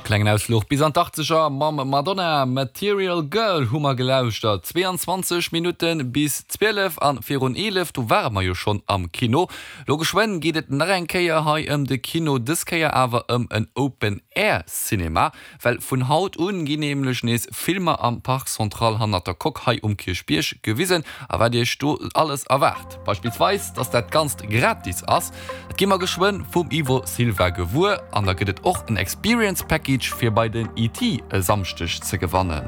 Klengen Ausfluch bis an d'Achtzeger mam Madonna, Material Girl hu mer gelauschtert. 22 Minutte bis 12 an virun 11, do ware mer jo schonn am Kino. Lo geschwënn geet et nach eng Kéier hei ëm de Kino, dës Kéier awer ëm en Open Air Cinema, well vun haut un ginn nämlech nees Filmer am Parc Central hannert der Coque hei um Kierchbierg gewisen. A wat iech do alles erwaart, beispillsweis dass dat Ganzt gratis ass, dat gi mer geschwënn vum Ivo Silva gewuer. An da gëtt et och en Experience Package fir bei den ET e Samschdeg ze gewannen.